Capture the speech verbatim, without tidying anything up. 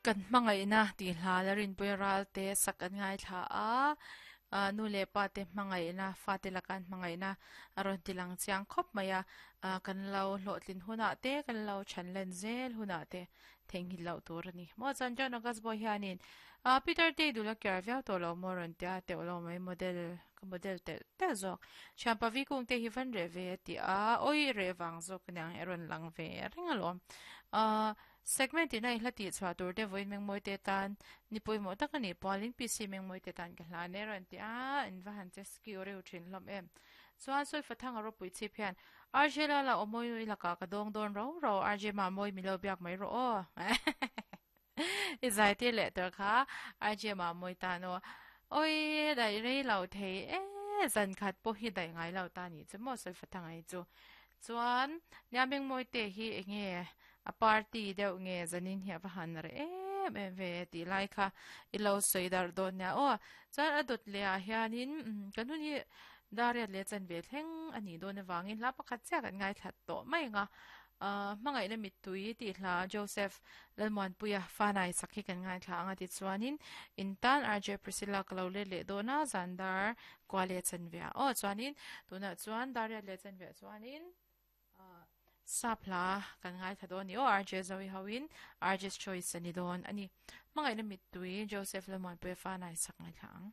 Kan hmangaihna tih hla la rinpui ralte sak an ngaithla a, ah nu leh pa te hmangaihna fate laka an hmangaihna a rawn ti lang chiang khawp mai a, ah kan lo hlawhtlin hunah te kan lo chhan len zel hunah te theihnghilh loh tur a ni. Maw chuan John August Boy hianin ah Peter te i duh la kiar viau tawh lo maw rawn tia teuh lo mai model ka model telh telh zawk. Thianpa vi kung te hi van reh ve a ti a, awi reh vang zawk aniang e rawn lang ve reng alawm. Ah segment in a i hla tih chhuah tur te vawiin mengmawi te tan ni pawimawh tak a nih pualin P C mengmawi te tan ka hlan e rawn ti a, in va han che skiu reuh thin hlawm em. Chuan sawi fathang a ropui chhip hian R J Lala aw mawi nui lakah ka dawng dawn ro ro R J mah mawi mi lo biak mai rawh aw. I zai tir leh tur kha R J mah mawi tan aw. Awi daih rei lo thei e zan khat pawh hi daih ngai lo ta nih chu maw sawi fathang ai chu. Chuan nia mengmawi te hi enge a party deuh nge zanin hi a va han reh em em ve tih lai kha i lo sawi darh dawn nia aw. Chuan a dawt leh ah hianin kan hun hi Dariat leh chanve thleng a nih dawn avangin hla pakhat chiah kan ngaithla tawh mai ang a. Ahh hmangaihna mittui tih hla Joseph Lalmuanpuia Fanai sak hi kan ngaithla ang a tichuanin in tan R J Priscilla ka lo let leh dawn a zan dar kua leh chanve ah aw chuanin tunah chuan Dariat leh chanve ah chuanin ahh sap hla kan ngaithla dawn a ni aw R J Zoe hoin R J's Choice a ni dawn a ni. Hmangaihna mittui Joseph Lalmuanpuia Fanai sak ngaithla ang.